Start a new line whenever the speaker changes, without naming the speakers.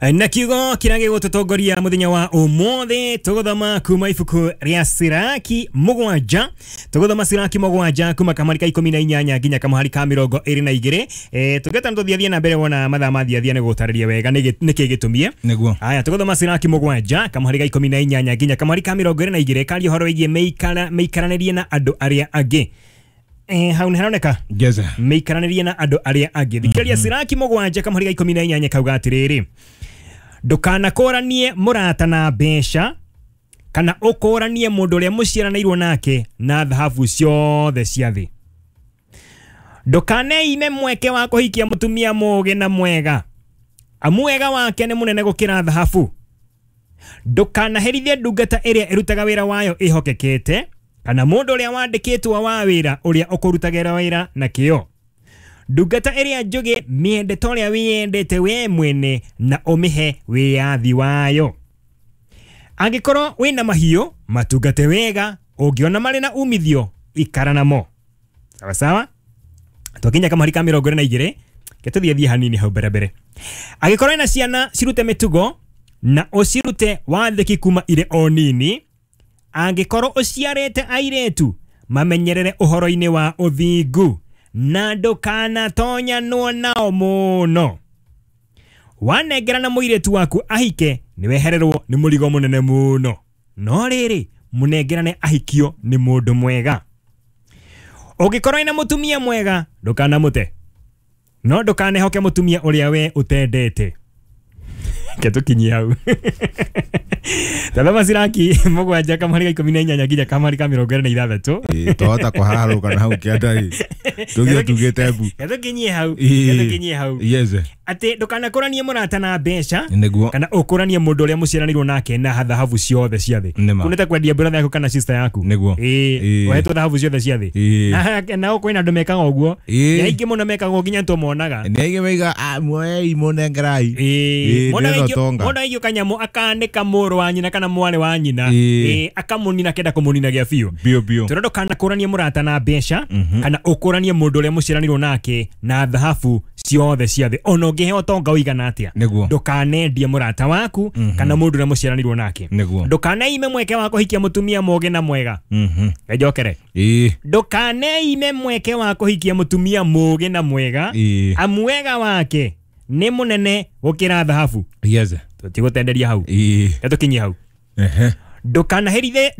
Na kiugo kĩrĩa gĩgũtũtongoria mũthenya wa ũmũthĩ, tũgũthoma kuma ibuku rĩa Siraki 7. Tũgũthoma Siraki 7 kuma kamũhari ka 18 nginya kamũhari ka 22. Tũngĩeta nĩ tũthiathie na mbere, wona mathaa mathiathia nĩ gũtarĩria wega nĩkĩ gĩtũmie.
Nĩguo.
Aya, tũgũthoma Siraki 7 kamũhari ka 18 nginya kamũhari ka 22, karia ũhoro wĩgiĩ mĩikaranĩrie na andũ arĩa angĩ. Hau nĩ haroneka?
Yes.
Mĩikaranĩrie na andũ arĩa angĩ. Thikĩrĩria, Siraki 7 kamũhari ka 18 kauga atĩrĩrĩ: "Ndũkanakũranie mũrata na mbeca, kana ũkũranie mũndũ ũrĩa mũciaranĩirwo nake na thahabu ciothe cia thĩ. Ndũkaneime mweke wa kũhikia mũtumia mũũgĩ na mwega, amu wega wake nĩ mũnene gũkĩra thahabu. Ndũkanaherithie ndungata ĩrĩa ĩrutaga wĩra wayo ĩhokekete, kana mũndũ ũrĩa wandĩkĩtwo wa wĩra ũrĩa ũkũrutagĩra wĩra na kĩyo. Ndungata ĩrĩa njũgĩ mĩende ta ũrĩa wĩyendete we mwene, na ũmĩhe wĩyathi wayo. Angĩkorwo wĩna mahiũ, matungate wega. Ũngĩona marĩ na umithio, ikara namo." Sawa sawa. Twakinya kamũhari ka 22, ke tũthiĩ hanini hau mbere mbere. "Angĩkorwo wĩna ciana, cirute mĩtugo na ũcirute wathĩki kuma irĩ o nini. Angĩkorwo ũciarĩte airĩtu, mamenyerere ũhoro-inĩ wa ũthingu, na ndũkanatonyanwo nao mũno. Wanengerana mũirĩtu waku ahike, nĩwehererwo nĩ mũrigo mũnene mũno. No rĩrĩ, mũnengerane ahikio nĩ mũndũ mwega. Ũngĩkorwo wĩna mũtumia mwega, ndũkanamũte, no ndũkanehoke mũtumia ũrĩa we ũtendete." Ke tũkinyie hau. Tathoma Siraki 7 kamũhari ka 18 nginya kamũhari ka 26.
Ĩĩ, twahota kũharũka na hau kĩanda ĩ tũthiĩ tugĩte mbu.
Ke tũkinyie hau.
Ĩĩ.
Ke tũkinyie hau.
Yes.
Atĩ ndũkanakũranie mũrata na mbeca,
Nĩguo.
kana ũkũranie mũndũ ũrĩa mũciaranĩirwo nake na thahabu ciothe cia thĩ.
Nĩma.
Kunĩte kwendia brother yaku kana sister yaku.
Nĩguo.
Ĩĩ. Ũhetwo thahabu ciothe cia thĩ.
Ĩĩ.
Na kwĩna andũ mekaga ũguo.
Ĩĩ.
Nĩ aingĩ mũno mekaga ũguo, nginya nĩtũmonaga.
Nĩ aingĩ maiga, "Ah, muoei, mũnengerai."
Ĩĩ.
Ĩĩ,
Mwana
ndĩrenda ũtonga.
Mwana aigio kanyamũ akanĩka mũrũ wa nyina kana mwarĩ wa nyina.
Ĩĩ.
Ĩĩ, akamũnina, kenda kũmũnina gĩa biũ.
Biũ biũ.
Tondũ ndũkanakũranie mũrata na mbeca, kana ũkũranie mũndũ ũrĩa mũciaranĩirwo nake na thahabu ciothe cia thĩ. Ona ũngĩheo ũtonga ũigana atĩa,
Nĩguo.
ndũkanendie mũrata waku kana mũndũ ũrĩa mũciaranĩirwo nake.
Nĩguo.
Ndũkaneime mweke wa kũhikia mũtumia mũũgĩ na mwega. Njokere. Ndũkaneime mweke wa kũhikia mũtumia mũũgĩ na mwega, amu wega wake nĩ mũnene gũkĩra thahabu. Tũtigũtenderia hau. Tũkinyie hau. Ndũkanaherithie.